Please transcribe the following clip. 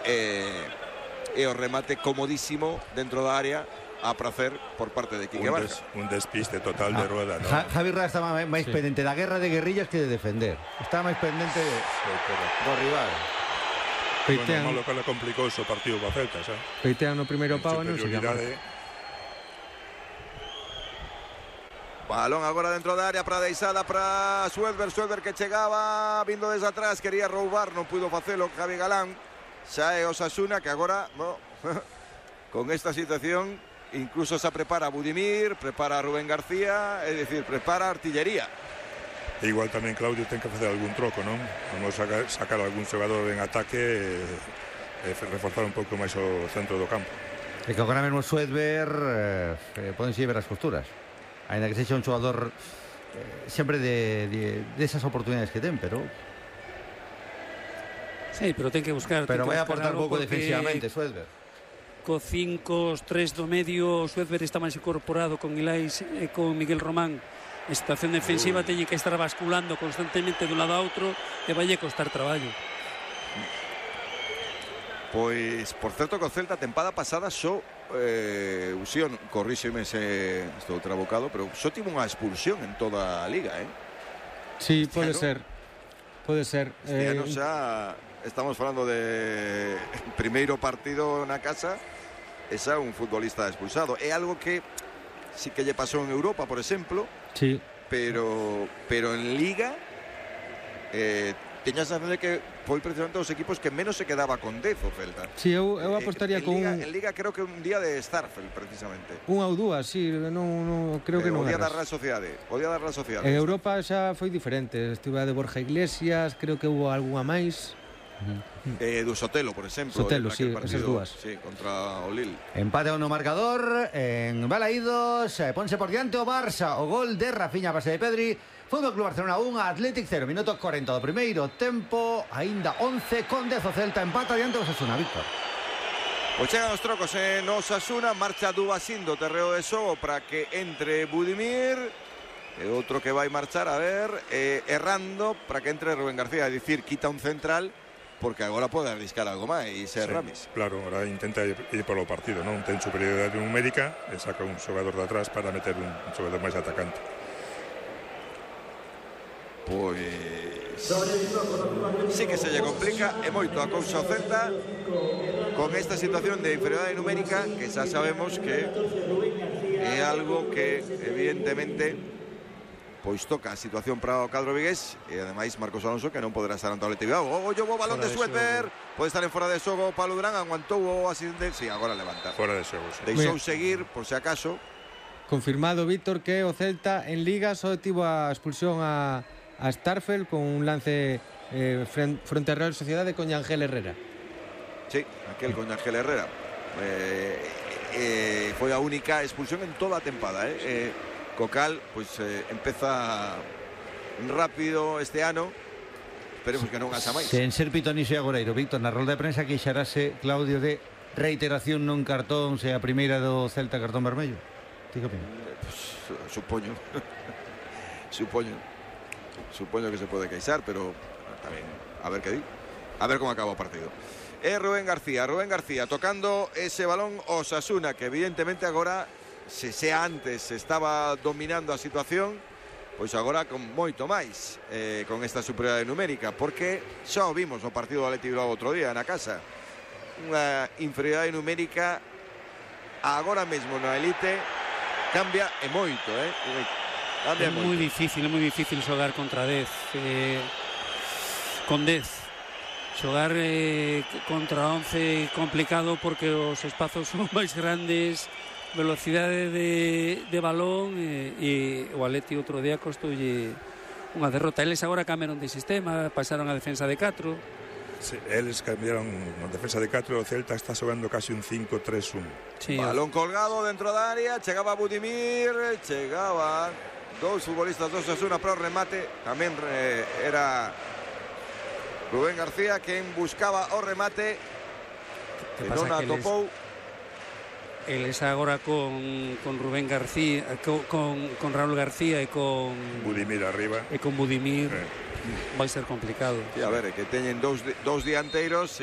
e o remate comodísimo dentro da área a prazer por parte de Quique Barca. Un despiste total de Rueda, ¿no? Javi Rueda estaba máis pendente da guerra de guerrillas que de defender. Estaba máis pendente do rival. Bueno, malo que le complicou o partido para Celta, xa. Peitean no primeiro pau e non se llama. Balón agora dentro da área para Deixada, para Suedber que chegaba vindo desde atrás, quería roubar, non pudo facelo Javi Galán. Xa é Osasuna que agora, bueno, con esta situación incluso se prepara Budimir, prepara Rubén García, é dicir, prepara artillería. E igual tamén Claudio ten que facer algún troco, non? Vamos a sacar algún xogador en ataque e reforzar un pouco máis o centro do campo. E que agora mesmo Suedber poden ver as costuras. Ainda que sexa un xogador sempre de esas oportunidades que ten, pero sí, pero ten que buscar. Pero vai a aportar pouco defensivamente Suedber. Co 5-3 do medio, Suedber está máis incorporado con Ilais e con Miguel Román. En situación defensiva teñen que estar basculando constantemente dun lado a outro e vai costar traballo. Pois, por certo, que o Celta tempada pasada só Usión, corríxeme se estou trabocado, pero só tivo unha expulsión en toda a liga, Sí, pode ser. Pode ser. Este ano xa estamos falando de primeiro partido na casa e xa un futbolista expulsado. É algo que sí que lle pasou en Europa, por exemplo. Sí. Pero en Liga teña a sensación de que foi precisamente os equipos que menos se quedaba con 10 o Celta. Sí, eu apostaría con en Liga creo que un día de Starfelt precisamente. Unha ou dúas, sí, non creo que non. O día da Real Sociedade. En Europa xa foi diferente. Estive a de Borja Iglesias, creo que hubo algunha máis. Do Sotelo, por exemplo. Sotelo, sí, esas dúas. Sí, contra o Lille. Empate no marcador en Balaídos, ponse por diante o Barça, o gol de Rafinha a base de Pedri. Fútbol Club Barcelona 1, Athletic 0, minuto 40 do primeiro tempo, aínda 11 con 10 o Celta, empata diante o Osasuna, Víctor. Pois chegan os trocos en Osasuna, marcha Dubasín do terreo de xogo para que entre Budimir, e outro que vai marchar, a ver, errando para que entre Rubén García, é dicir, quita un central, porque agora pode arriscar algo máis, Ramis. Claro, agora intenta ir polo partido, non? Ten superioridade numérica e saca un xogador de atrás para meter un xogador máis atacante. Pois sí que se lle complica e moito a cousa ao Celta con esta situación de inferioridade numérica que xa sabemos que é algo que evidentemente pois toca a situación para o cadro vigués e ademais Marcos Alonso que non poderá estar ante o Athletic. O balón de Suedber, pode estar en fora de xogo Pablo Durán, aguantou o asistente, si, agora levanta. Fora de xogo, sí. Deixou seguir por se acaso. Confirmado, Víctor, que o Celta en Liga só tivo a expulsión a Starfelt con un lance frente a Real Sociedade con Ángel Herrera. Sí, aquel con Ángel Herrera. Foi a única expulsión en toda a tempada, Cocal, pois empeza rápido este ano. Esperemos que non haxa máis. Sen ser pitoniso e agoreiro, Víctor, na rolda de prensa queixarase Claudio de reiteración non cartón, se a primeira do Celta cartón vermello. Ti que opinas? Supoño que se pode queixar, pero tamén a ver que di, a ver como acaba o partido. Rubén García tocando ese balón Osasuna, que evidentemente agora, se antes estaba dominando a situación, pois agora con moito máis, con esta superioridade numérica, porque xa o vimos no partido do Athletic Bilbao outro día na casa, unha inferioridade numérica agora mesmo na elite cambia e moito, É moi difícil xogar contra 10, con 10 xogar contra 11 complicado porque os espazos son máis grandes, velocidade de balón, e o Atleti outro día costoulle unha derrota. Eles agora cambiaron de sistema, pasaron a defensa de 4. Sí, eles cambiaron a defensa de 4, o Celta está xogando casi un 5-3-1. Sí, balón colgado dentro da área, chegaba Budimir, chegaban dous futbolistas dos Osasuna para o remate, tamén era Rubén García quen buscaba o remate, que non atopou. Eles agora con Rubén García, con Raúl García e con Budimir arriba. E con Budimir vai ser complicado. E a ver, que teñen dous dianteiros,